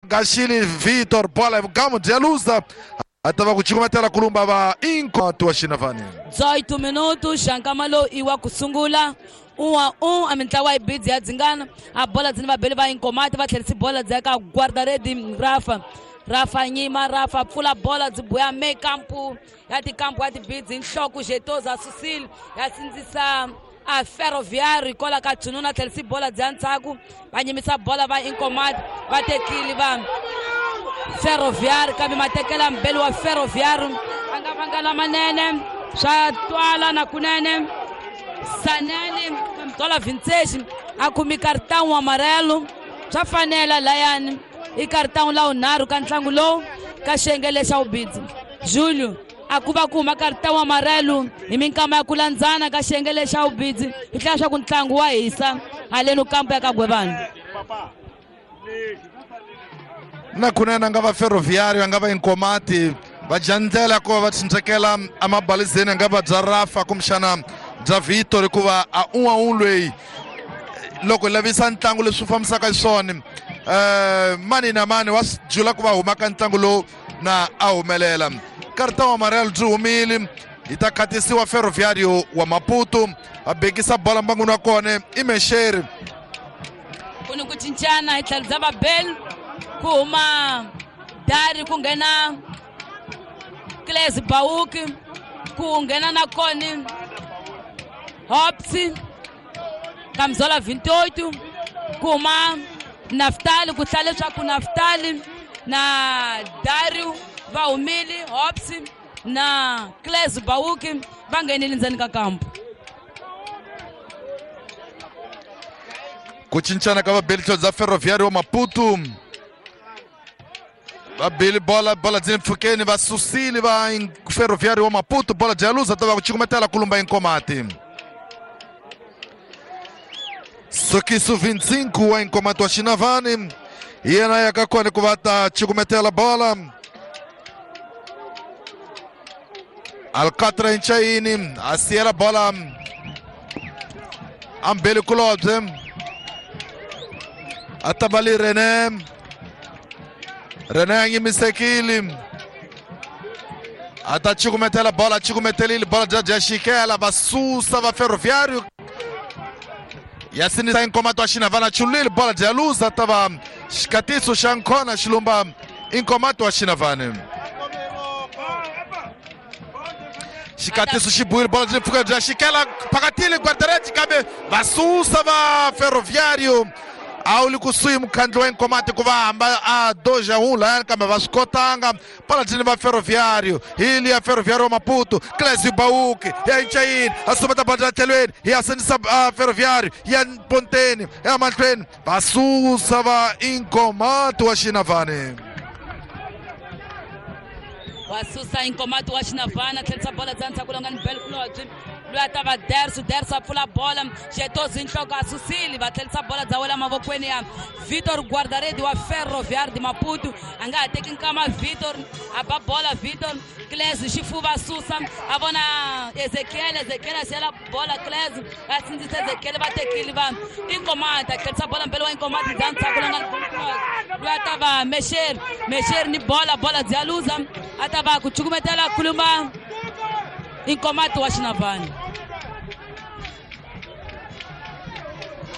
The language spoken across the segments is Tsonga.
Gaxili Vitor bola vugamu bya luza a ta va ku cukumetela kulumba va Inkoto wa Xinavani. 18 minutos xa lowu i wa ku sungula 1-1 a mintlawa yi bidzi ya dzingana a bola dzini vabeli va Inkomati va tlherisi bola dzi ya ka guardaredi Rafa. Rafa nyima Rafa pfula bola dzi buya me kampu ya tikampu ya tibidzi nhloko Jetoza susile ya sindzisa a Ferroviário kola ka Tsununa tlherisi bola dzi ya ndzhaku va nyimisa bola va Inkomati va tekile va Ferroviário kambe matekela mbeli wa Ferroviário a nga vanga lamanene swa twala na kunene Sanene twala 26 a kumi cartão amarelo swa fanela layani i cartão la unharhu ka ntlangu lowu ka xiyenge xa vubidzi. Julio a ku va ku huma cartão amarelo hi minkama ya ku landzana ka xiyenge xa vubidzi hi tlhela swa ku ntlangu wa hisa haleni kampu ya ka Gwevani. Na kunene a nga va Ferroviário a nga va Inkomati va dya ndlela ku va va tshunxekela emabalizeni a nga va bya Rafa kumbexana bya Vitor hikuva a un'we loyi loko hi lavisa ntlangu leswi fambisaka xiswona mani na mani wa swi jula ku va huma ka ntlangu lowu na a humelela. Cartão amarelo byi humile yi ta khatisiwa Ferroviário wa Maputo a bekisa bola mbangwini wa kona i Mexeri. Ku ni ku cincana hi tlhelo bya vabeli ku huma Dari ku nghena Claes Bauki ku nghena na koni Hops Kamzola 28 ku huma Naftali ku hlaya leswaku Naftali na Dario va humile Hops na Claes Bauki va nghenile ndzeni ka kampu. Ku cincana ka vabeli tlhelo bya Ferroviário wa Maputo vabeli bola bola dzi mpfhukeni va susile va Ferroviário wa Maputo bola dya luza ta va ku cukumetela kulumba Inkomati. Sokiso 25 wa Inkomati wa Xinavani yena ya ka kona ku va ta cukumetela bola. Alcatra Nchaini a siyela bola ambeli kulobye a ta va li Rene. Rene a nyimisekile a ta cukumetela bola cukumetelile bola bya dya xikela va susa va Ferroviário ya sinisa Inkomati wa Xinavana chulile bola dya luza ta va xikatiso xa nkhona xilumba Inkomati wa Xinavani. Xikatiso xi buwile bola byi pfuka bya xikela phakatile guardarete kambe va susa va Ferroviário a wu li kusuhi mukhandli wa Inkomati ku va hamba a doja wu layani kambe va swi kotanga bola dyini va Ferroviário hi liya Ferroviário wa Maputo Clésio Bauki ya Nchayini a sumeta bola tlhelweni ya sindzisa Ferroviário ya Ponteni ya mahlweni va susa va Inkomati wa Xinavani. Va susa Inkomati wa Xinavani a tlherisa bola dza ndzhaku longa ni Bel Kulobye loyi a ta va Dersu. Dersu a pfula bola Jetozi nhloko a susile va tlherisa bola dza wela mavokweni ya Vitor Guardaredi wa Ferroviário de Maputo a nga ha teki nkama Vitor a ba bola Vitor Clésio xifuva a susa a vona Ezekiel. Ezekiel a siyela bola Clésio a sindzisa Ezekiel va tekile va Inkomati a tlherisa bola mbele wa Inkomati dza ndzhaku longa loyi a ta va Mexeri. Mexeri ni bola bola dzi ya luza a ta va ku cukumetela kulumba Inkomati wa Xinavani.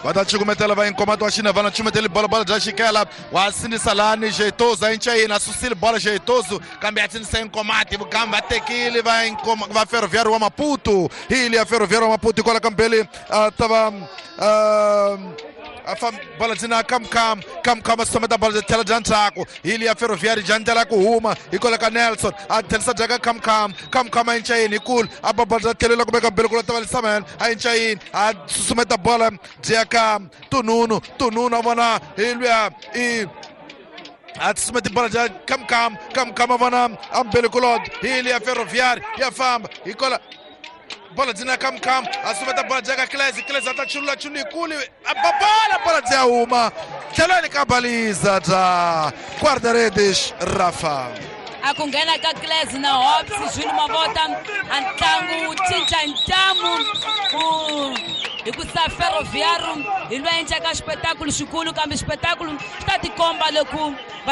Va ta cukumetela va Inkomati wa Xinavani cukumeteli bola bola bya xikela wa sindzisa lani Jetozo a Nchayini a susile bola Jetozo kambe ya sindzisa Inkomati vugambi va tekile va va Ferroviário wa Maputo hi liya Ferroviário wa Maputo hikwalaho ka mbeli a ta va a bola dzina Kamkam. Kamkam a susumeta bola tlhela bya ndzhaku hi liya Ferroviário bya ndlela ku huma hikwalaho ka Nelson a tlherisa bya ka Kamkam. Kamkam a Nchayini hi kulu a ba bola bya tlhelela kumbe ka mbeli ku ta va Lisaman a Nchayini a susumeta bola bya ka Tununu. Tununu a vona hi luya i a susumeta bola bya Kamkam. Kamkam a vona a mbeli kulod hi liya Ferroviário ya famba hikwalaho bola dzina Kamkam a sumeta bola bya ka Clésio. Clésio a ta chulula chulu yikulu a ba bola bola dzi ya huma tlhelweni ka baliza bya guarda-redes Rafa. A ku nghena ka Clésio na Hops Jules Mavota a ntlangu wu cinca ntamu ku hi ku sa Ferroviário hi loyi endlaka xipetakulu xikulu kambe xipetakulu xi ta tikomba loko va